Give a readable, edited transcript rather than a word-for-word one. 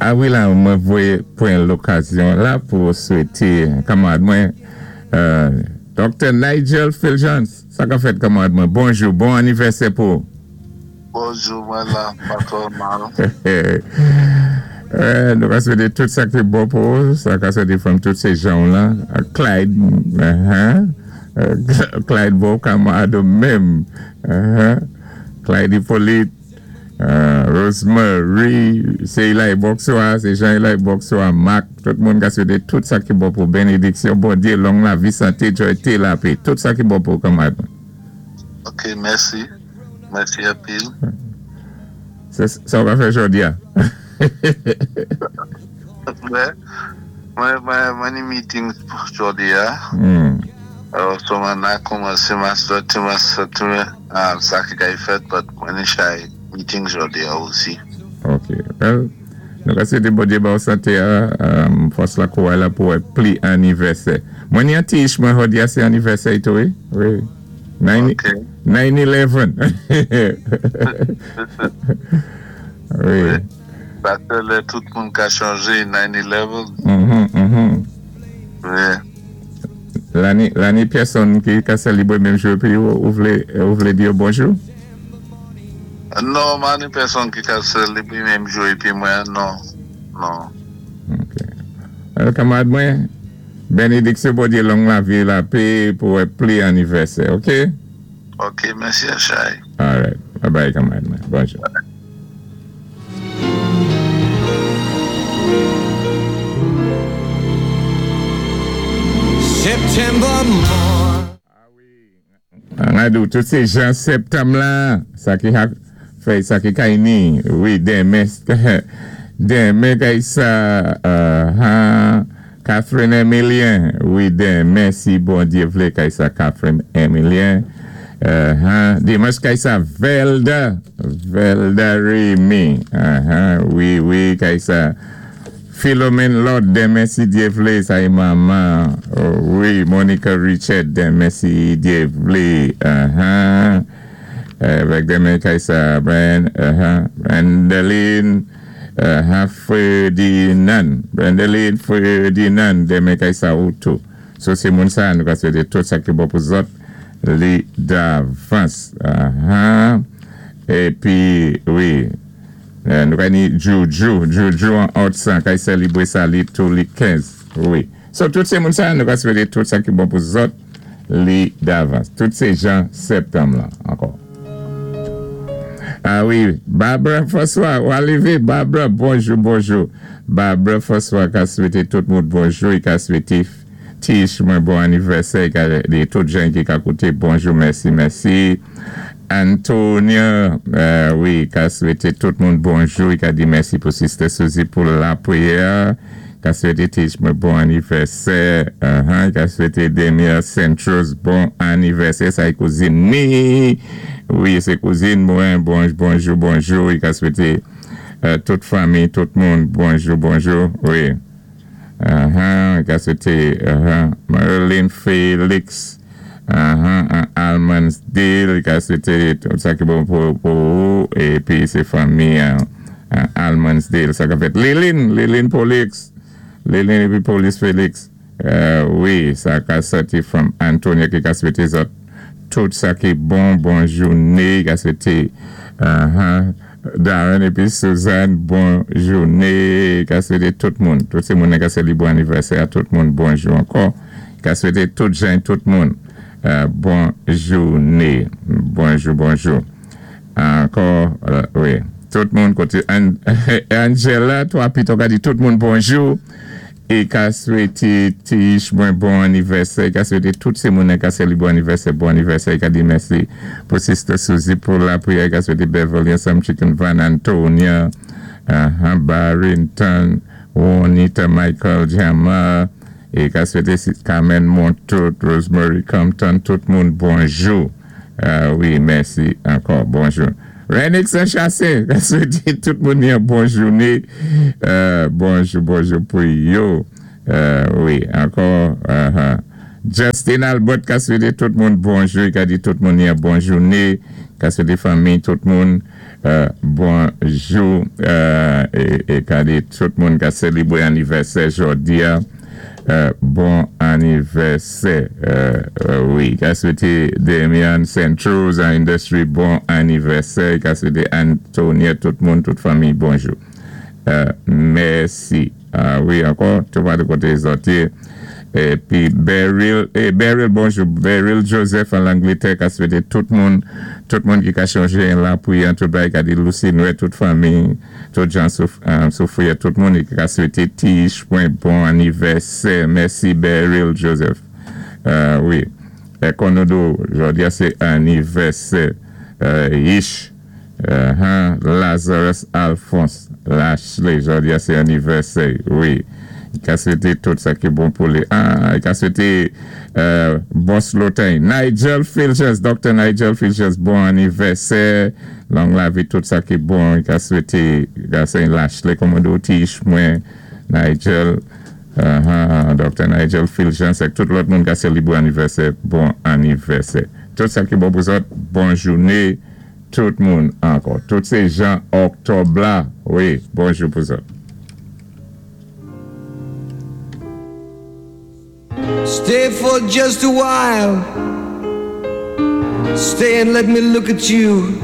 A wi la, mwen voyé pwan lokazyon la pou swété kanmarad mwen Dr. Nigel Fulgence. Sa ka fèt, kanmarad mwen? Bonjou, bon anivèsè pou ou. Bonjou, mwen la, pa twò mal. Nou ka swété tout sa ki bon pou ou, sa ka swété from tout sé jan ou lan, Clyde, Clyde bon kanmarad ou menm, Clyde Hippolyte, Rosemary, sé Eli Boxoa, sé Jean Eli Boxoa, Marc, tout moun ka swété tout sa ki bon pou ou, benediksyon Bondyé, long lavi, santé, joy, té, lapé, tout sa ki bon pou ou, kanmarad mwen. Ok, mèsi. Mèsi anpil. Sa ou ka fè jòdi a? Mwen ni meeting jòdi a. So mwen na kòmanse ma soti ma soti sa ki kay fèt but mwen ni chay meeting jòdi a osi. Ok. Well, nou ka swete Bondye ba ou sante a, fòs la kouray la pou wè pli anivèsè. Mwen ni an ti ich mwen jòdi a se anivèsè i tou wi. Wi. 9-11. Wi. Sa sé lè tout moun ka chanje 9-11. Wi. La ni pèsonn ki ka selibre menm jou épi ou vlé ou vlé di yo bonjou? Non, ma ni pèsonn ki ka selibre menm jou épi mwen, non. Non. Ok. Alò kanmarad mwen, Benediksyon Bondye long lavi lapé pou wè pli anivèsè ok. Ok mèsi Achay. Alright bye bye kanmarad mwen bonjou. September morn. An di w tout se jan septanm la sa ki ha fèy sa ki kay ni wi denmen denmen kay sa ha Catherine Emilien wi denmen si Bondye vle kay sa Catherine Emilien ha dimanch kay sa Velda Velda Remy ha wi wi kay sa. Philomene Lord denmen si Dye vle sa e manman wi Monica Richard denmen si Dye vle ahaa avèk denmen kay sa Brandeline ahaa Ferdinand Brandeline Ferdinand denmen kay sa ou tou so se moun sa nou ka swete tout sa ki bon pou zòt li davans ahaa epi wi. Nou ka ni Djoudjou, Djoudjou an Otsan kay selibre sa li tou li 15 wi. So tout se moun sa nou ka swete tout sa ki bon pou zòt li davans. Tout se jan septanm lan ankò. Ah wi Barbara François ou alive Barbara bonjou bonjou Barbara François ka swete tout moun bonjou i ka swete Tish mwen bon anivèsè i ka di tout jan ki ka koute bonjou mèsi mèsi. Antonia wi ka swete tout moun bonjou e ka di mèsi pou sister Suzy pou lapriyè ka swete teach mwen bon anivèsè e ka swete Demir Centros bon anivèsè sa e kouzin ni wi se kouzin mwen bonjou bonjou e ka swete tout fanmi tout moun bonjou bonjou wi e ka swete Marilyn Felix. Ahan Almansdale ka swete tout sa ki bon pou ou epi se fanmi Almansdale sa ka fèt Liline Liline Polix Liline epi Polis Felix wi sa ka sòti from Antonia ki ka swete zòt tout sa ki bon bon joune ka swete ahan Darren epi Suzanne bon joune ka swete tout moun tout se moun nan ka selibre anivèsè a tout moun bonjou ankò. Ka swete tout jan tout moun bon joune bonjou bonjou ankò wi tout moun kote Angela 3 pito ka di tout moun bonjou e ka swete Tish mwen bon anivèsè ka swete tout se moun nan ka selibre anivèsè bon anivèsè e ka di mèsi pou sister Suzy pou lapriyè ka swete Beverly ansanm Chicken Van Antonia Barrington Juanita Michael Jama E ka swete sis Carmen Montout, Rosemary Compton, tout moun bonjou. Wi, mèsi ankò. Bonjou. Renix Saint-Chassin, ka swete tout moun yon bon joune. Bonjou, bonjou pou yo. Wi, ankò. Justin Albert ka swete tout moun bonjou. Li ka di tout moun yon bon joune. Ka swete fanmi tout moun. Bonjou é ka di tout moun ka sélibwé anivèsè jòdi-a bon anivèsè. Wi, ka swété Damian Centros an Industry bon anivèsè, ka swété Antoniette, tout moun, tout fanmi bonjou. Mèsi. Wi, ankò, tout patou koté zòt yé. Épi Beryl, é Beryl, bonjou. Beryl Joseph an Langlétè ka swété tout moun ki ka chonjé lapriyè, tout bagay, ka di Lucy Nwè, tout fanmi, tout jan soufri, tout moun ki ka swété Tish mwen bon anivèsè. Mèsi, Beryl Joseph. Wi. É kon nou di, jòdi-a sé anivèsè Yish Lazarus Alphonse Lashley, jòdi-a sé anivèsè. Wi. Ka swété tout sa ki bon pou li. Ah, ka swété Boss Lotin, Nigel Filges, Dr. Nigel Filges, bon anivèsè. Long lavi, tout sa ki bon. Ka swété gason Lashley, kòmando Tish mwen, Nigel, Dr. Nigel Filges, ak tout lòt moun ka sélibwé anivèsè, bon anivèsè. Tout sa ki bon pou zòt, bon jouné, tout moun ankò. Tout sé jan òktòb la, wi, bonjou pou zòt. Stay for just a while. Stay and let me look at you.